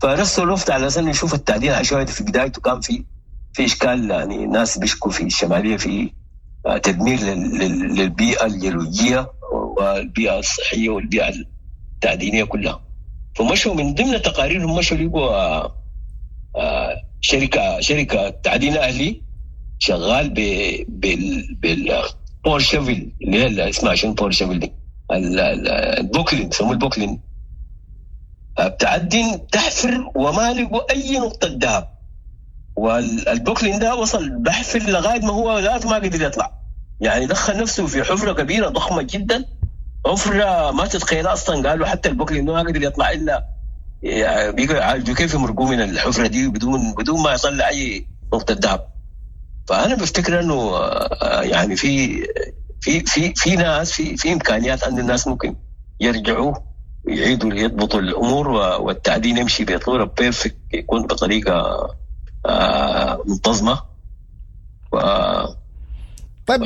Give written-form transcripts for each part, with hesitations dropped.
فرسلوا وفد على اساس انه يشوف التعدين العشوائي في بدايته كان في اشكال، يعني ناس بيشكوا في الشمالية في تدمير للبيئة الجيولوجيه والبيئة الصحية والبيئة التعدينيه كلها. فمشوا من ضمن تقاريرهم مشوا لقوا شركة تعدين اهلي شغال بال power shovel اللي هي اسمها شنو power shovel دي، البوكلين، يسموه البوكلين، بتعدين تحفر وما لقوا اي نقطة ذهب. والبوكلين ده وصل بحفر لغاية ما هو ذاته ما قدر يطلع، يعني دخل نفسه في حفره كبيرة ضخمة جدا، حفره ما تتخيلها اصلا. قالوا حتى البوكلين ما قدر يطلع الا بيقعدوا يعالجوا كيف يمرقوه من الحفرة دي بدون ما يطلع اي نقطة ذهب. فانا بفتكر انه يعني في في في في ناس في امكانيات ان الناس ممكن يرجعوا يعيدوا يضبطوا الامور والتعدين يمشي بصورة perfect، يكون بطريقة منتظمة. طيب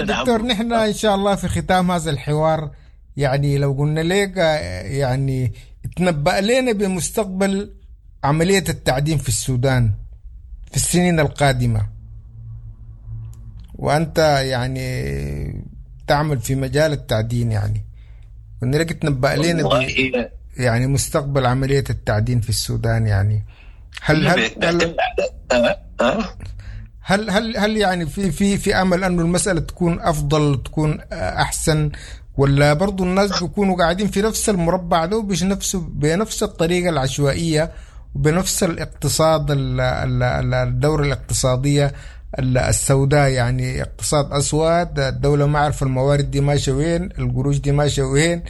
دكتور، نحن ان شاء الله في ختام هذا الحوار، يعني لو قلنا لك يعني تنبأ لنا بمستقبل عملية التعدين في السودان في السنين القادمة، وأنت يعني تعمل في مجال التعدين، يعني قلنا لك تنبأ لنا يعني مستقبل عملية التعدين في السودان، يعني هل هل هل هل هل, هل يعني في امل انه المسالة تكون افضل، تكون احسن، ولا برضو الناس بيكونوا قاعدين في نفس المربع ده بنفس الطريقة العشوائية وبنفس الاقتصاد الدورة الاقتصادية السوداء، يعني اقتصاد اسود، الدولة ما عارفه الموارد دي ماشية وين، القروش دي ماشية وين،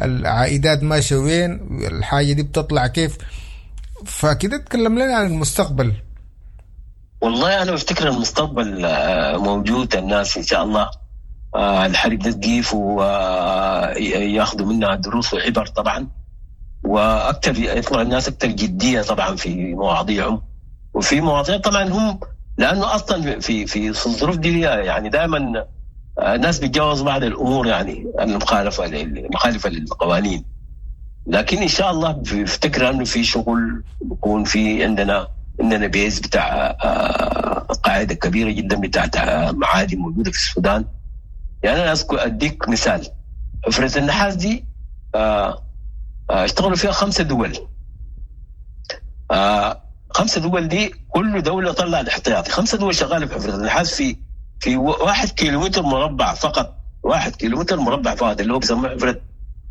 العائدات ماشية وين، الحاجة دي بتطلع كيف. فكده تكلم لنا عن المستقبل. والله انا بفتكر المستقبل موجود، الناس ان شاء الله الحرب ده تقيف وياخذوا منها دروس وعبر طبعا، واكثر يطلع الناس اكثر جدية طبعا في مواضيعهم وفي مواضيع طبعا هم، لانه اصلا في الظروف دي يعني دائما الناس بيتجاوز بعض الامور يعني المخالفة للقوانين. لكن ان شاء الله بفتكر انه في شغل بيكون في عندنا base بتاع قاعدة كبيرة جدا بتاعت معادن موجودة في السودان. يعني انا اذكر اديك مثال، حفره النحاس دي اشتغلوا فيها 5 دول، 5 دول دي كل دولة طلعت احتياطي، 5 دول شغالة في حفره النحاس في 1 كيلومتر مربع فقط، 1 كيلومتر مربع فقط، اللي هو بيسموه حفره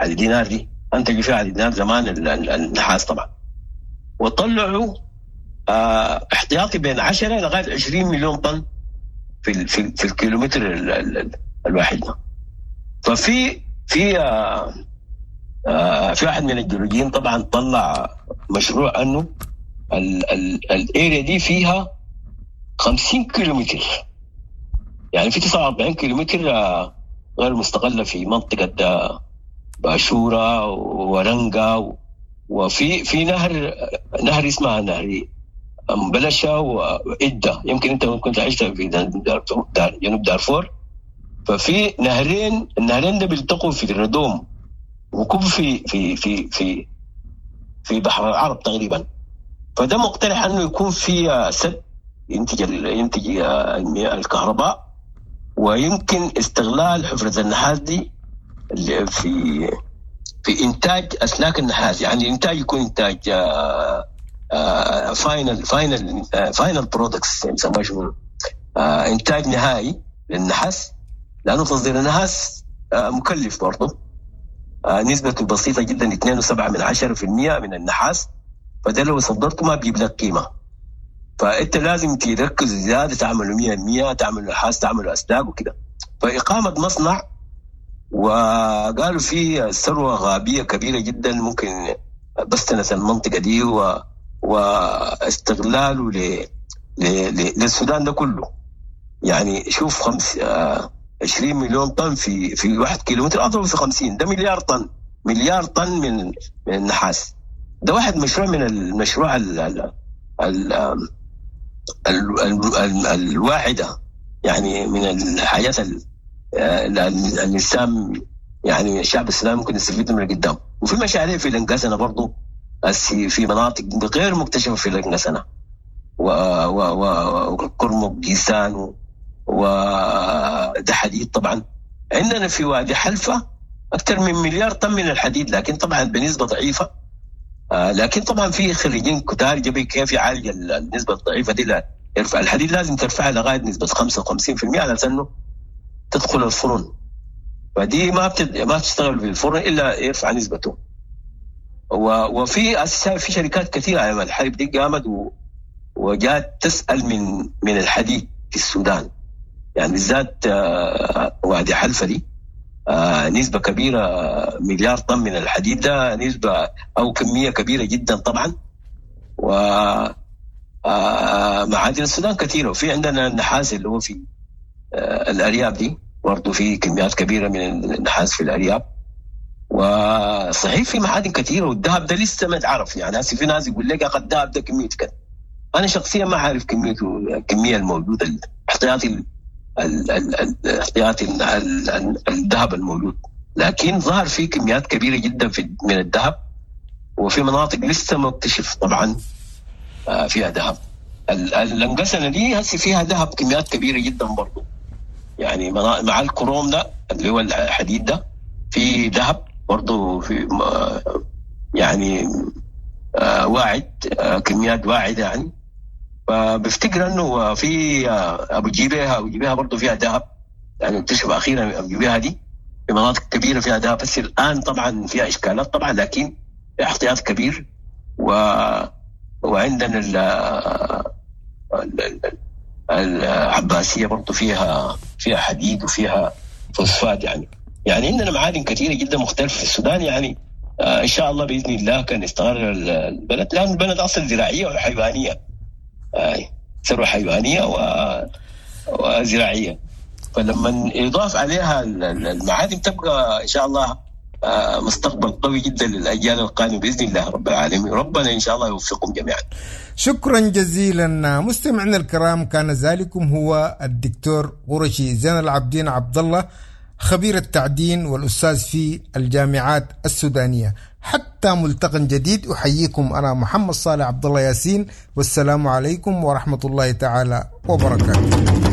علي دينار دي، انتجوا فيها علي دينار زمان النحاس طبعا. وطلعوا احتياطي بين 10 لغاية 20 مليون طن في في في الكيلومتر الواحد. ففي في في واحد من الجيولوجيين طبعا طلع مشروع انه ال area دي فيها 50 كيلومتر، يعني في 49 كيلومتر غير مستغله في منطقة باشوره ورنجا، وفي في نهر اسمها نهر بلشة وإدة، يمكن أنت كنت عشت في جنوب دارفور. ففي نهرين، النهرين ده بيلتقوا في الردوم وكب في في في في في بحر العرب تقريبا. فده مقترح انه يكون في سد ينتج الكهرباء، ويمكن استغلال حفرة النحاس دي في انتاج اسلاك النحاس، يعني الانتاج يكون انتاج final final final products، يسموها شنو، انتاج نهائي للنحاس، لانه تصدير النحاس مكلف برضه، نسبته بسيطة جدا 2.7% من النحاس، فده لو صدرته ما بيجيب لك قيمة. فانت لازم تركز زيادة، تعملوا 100%، تعملوا نحاس، تعملوا اسلاك وكده. فاقامه مصنع، وقالوا في ثروة غابيه كبيرة جدا ممكن بستنة المنطقة دي واستغلاله للسودان ده كله. يعني شوف 20 مليون طن في 1 كيلومتر، اضرب في 50، ده مليار طن، مليار طن من النحاس. ده واحد مشروع من المشروع ال ال ال ال ال ال الواعدة، يعني من الحاجات الإنسان يعني الشعب السوداني ممكن يستفيد من قدام. وفي مشاريع في الانقسنة برضو في مناطق غير مكتشفه في الانقسنا وكرمك جيسان وده حديد. طبعا عندنا في وادي حلفة اكثر من مليار طن من الحديد، لكن طبعا بنسبة ضعيفة. لكن طبعا في خريجين كتار جبي كيف يعالج النسبة الضعيفة دي. لا يرفع الحديد، لازم ترفعها لغاية نسبه 55% على انه تدخل الفرن، فدي ما بتشتغل في الفرن الا يرفع نسبته. وفي في شركات كثيرة ايام الحرب دي قامت وجات تسال من الحديد في السودان، يعني بالذات وادي حلفه دي نسبه كبيرة، مليار طن من الحديد ده نسبه او كمية كبيرة جدا طبعا. و معادن السودان كثيرة، وفي عندنا النحاس اللي هو في الارياب دي برضه في كميات كبيرة من النحاس في الارياب. وصحيح في معادن كثيرة، والذهب ده لسه ما اتعرف. يعني هسه في ناس يقول لك يا اخي الذهب ده كمية كذا، انا شخصيا ما عارف كميته، الكمية الموجودة، الاحتياطي الاحتياطي الذهب الموجود، لكن ظهر في كميات كبيرة جدا من الذهب، وفي مناطق لسه ما اكتشف طبعا فيها ذهب. الانقسنه دي هسه فيها ذهب كميات كبيرة جدا برضه، يعني مع الكروم ده اللي هو الحديد ده في ذهب برضه، في يعني واعد، كميات واعده يعني. فبفتكر انه في ابو جبيهه برضه فيها ذهب، يعني اكتشف اخيرا ابو جبيهه دي في مناطق كبيرة فيها ذهب، بس الان طبعا فيها اشكالات طبعا، لكن في احتياط كبير. وعندنا العباسية برضه فيها حديد وفيها فوسفات، يعني عندنا معادن كثيرة جدا مختلفة في السودان. يعني ان شاء الله باذن الله كان يستقر البلد، لان البلد اصلا زراعية وحيوانيه، ثروة حيوانية وزراعيه، فلما يضاف عليها المعادن تبقى ان شاء الله مستقبل قوي جدا للاجيال القادمة باذن الله رب العالمين. ربنا ان شاء الله يوفقكم جميعا. شكرا جزيلا مستمعينا الكرام، كان ذلكم هو الدكتور قرشي زين العابدين عبد الله، خبير التعدين والأستاذ في الجامعات السودانية. حتى ملتقى جديد، أحييكم أنا محمد صالح عبد الله ياسين، والسلام عليكم ورحمة الله تعالى وبركاته.